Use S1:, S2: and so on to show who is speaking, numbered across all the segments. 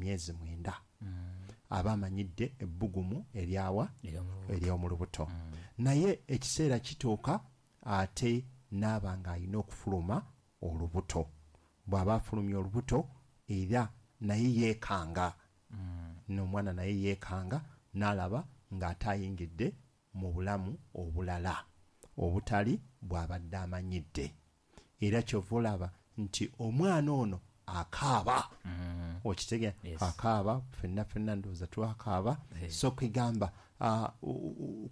S1: Emyezi 9 aba amanyidde ebbugumu eryawa? Ery'omu lubuto. Naye ekiseera kituuka ate n'aba ng'alina okufuluma olubuto. Bw'aba afulumya olubuto, era naye yeekanga, n'omwana naye yeekanga n'alaba ng'ate ayingidde mu bulamu obulala obutali bw'abadde amanyidde. Era kyova olaba nti omwana ono akaaba. Okitegeera?
S2: Yes.
S1: Akaaba, fenna fenna ndowooza twakaaba.
S2: Yes.
S1: So kwegamba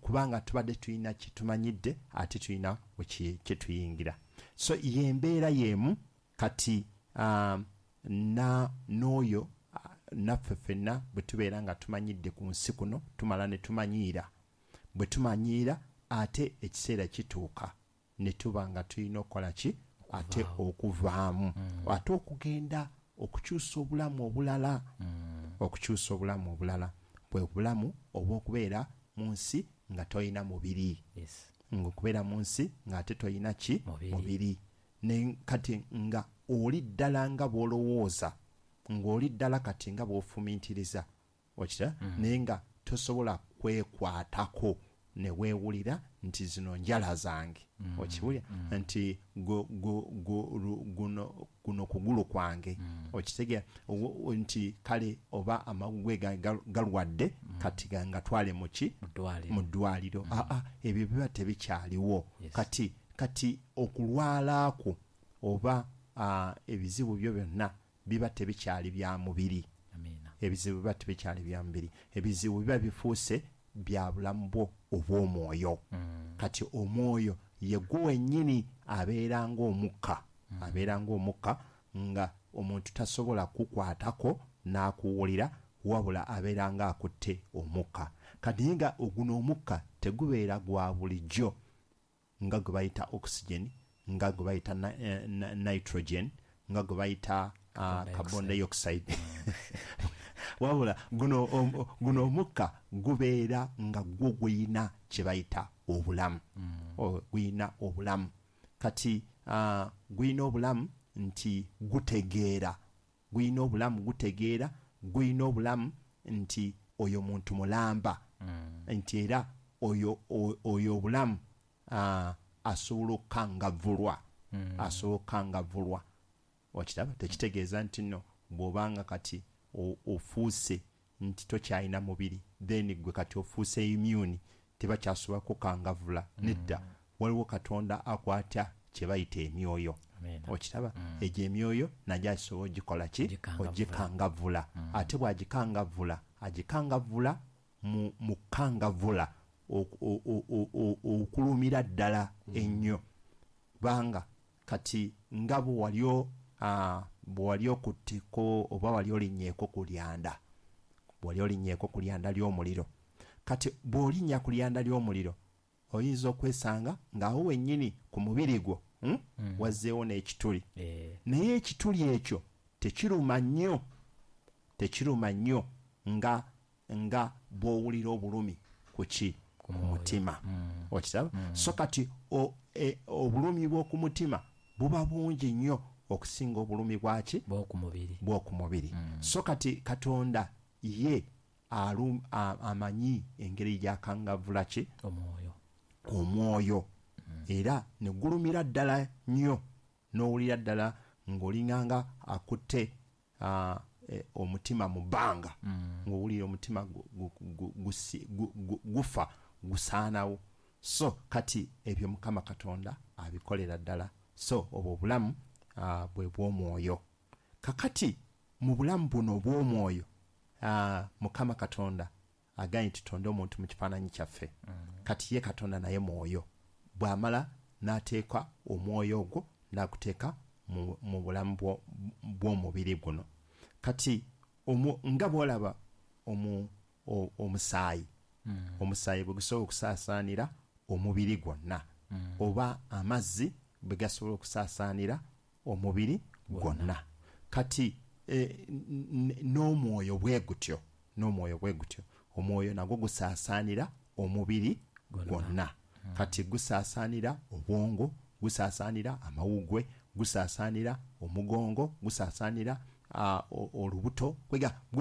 S1: kubanga tubadde tulina kyetumanyidde, ate tulina kyetuyingira. So yembeera yemu kati n'oyo naffe ffenna bwe tubeera nga tumanyidde ku nsi kuno, tumala ne tumanyiira. Bwe tumanyiira, ate ekiseera kituuka ne tuba nga tulina okukola ki? Ate okuvaamu, ate okugenda okukyusa obulamu obulala. Okukyusa obulamu obulala bwe bulamu obw'okubeera mu nsi nga tolina mubiri. Ng'okubeera mu nsi ng'ate tolina ki?
S2: Mubiri.
S1: Mubiri. Ne kati nga oli ddala nga bw'olowooza, ng'oli ddala kati nga bw'ofumiitiriza, okira? Naye nga tosobola kwekwatako ne weewulira nti zino njala zange. Okiwulira? Nti guno kugulu kwange. Okitegeera? Nti kale oba amagugwe galwadde, kati ngatwale mu ki?
S2: Mu ddwaliro.
S1: Mu ddwaliro. Aa, ebyo biba tebikyaliwo. Kati okulwala kwo oba ebizibu byo byonna biba tebikyali bya mubiri.
S2: Amiina.
S1: Ebizibu biba tebikyali bya mubiri. Ebizibu biba bifuuse bya bulamu bwo obw'omwoyo. Kati omwoyo ye gwo wennyini abeera ng'omukka. Abeera ng'omukka nga omuntu tasobola kukwatako n'akuwulira, wabula abeera ng'akutte omukka. Kati naye nga guno omukka tegubeera gwa bulijjo nga gwe bayita oxygen, nga gwe bayita nitrogen, nga gwe bayita
S2: Carbon
S1: carbon dioxide. Wabula guno omukka gubeera nga gwo guyina kye bayita obulamu. Guyina obulamu. Kati guyina obulamu nti gutegeera. Guyina obulamu gutegeera, guyina obulamu nti oyo muntu mulamba. Nti era oyo obulamu asobola okukangavvulwa. Asobola okukangavvulwa. Okiraba? Tekitegeeza nti nno bw'obanga kati ofuuse nti tokyalina mubiri, then gwe kati ofuuse immune, tebakyasobola kukangavvula. Nedda, waliwo Katonda akwata kye bayita emyoyo.
S2: Amiina.
S1: Okiraba? Egyo emyoyo nagyo asobola ogikola ki?
S2: Ogikangavvula.
S1: Ogikangavvula. Ate bw'agikangavvula, agikangavvula mu kukangavvula okulumira ddala ennyo. Kubanga kati nga bwe wali okutteko oba wali olinnyeeko ku lyanda, bwe wali olinnyeeko ku lyanda ly'omuliro. Kati bw'olinnya ku lyanda ly'omuliro, oyinza okwesanga ng'awo wennyini ku mubiri gwo, wazzeewo n'ekituli. Naye ekituli ekyo tekiruma nnyo, tekiruma nnyo nga bw'owulira obulumi ku ki? Ku mutima. Okiraba? So kati obulumi bw'oku mutima buba bungi nnyo okusinga obulumi bwaki?
S2: Bw'oku mubiri.
S1: Bw'oku mubiri. So kati Katonda ye amanyi engeri gy'akangavvula ki?
S2: Omwoyo.
S1: Omwoyo. Era ne gulumira ddala nnyo, n'owulira ddala ng'olinganga akutte omutima mu bbanga. Ng'owulira omutima gufa, gusaanawo. So kati ebyo Mukama Katonda abikolera ddala. So obwo obulamu bwe bw'omwoyo. Kakati mu bulamu buno obw'omwoyo, Mukama Katonda agambye tutonde omuntu mu kifaananyi kyaffe. Kati ye Katonda naye mwoyo. Bw'amala n'ateeka omwoyo ogwo n'aguteeka mu bulamu bw'omubiri guno. Kati nga bw'olaba omusaayi, omusaayi bwe gusobola okusaasaanira omubiri gwonna, oba amazzi bwe gasobola okusaasaanira omubiri gwonna. Kati n'omwoyo bwe gutyo, n'omwoyo bwe gutyo, omwoyo nagwo gusaasaanira omubiri gwonna. Kati gusaasaanira obwongo, gusaasaanira amawuggwe, gusaasaanira omugongo, gusaasaanira olubuto, kwega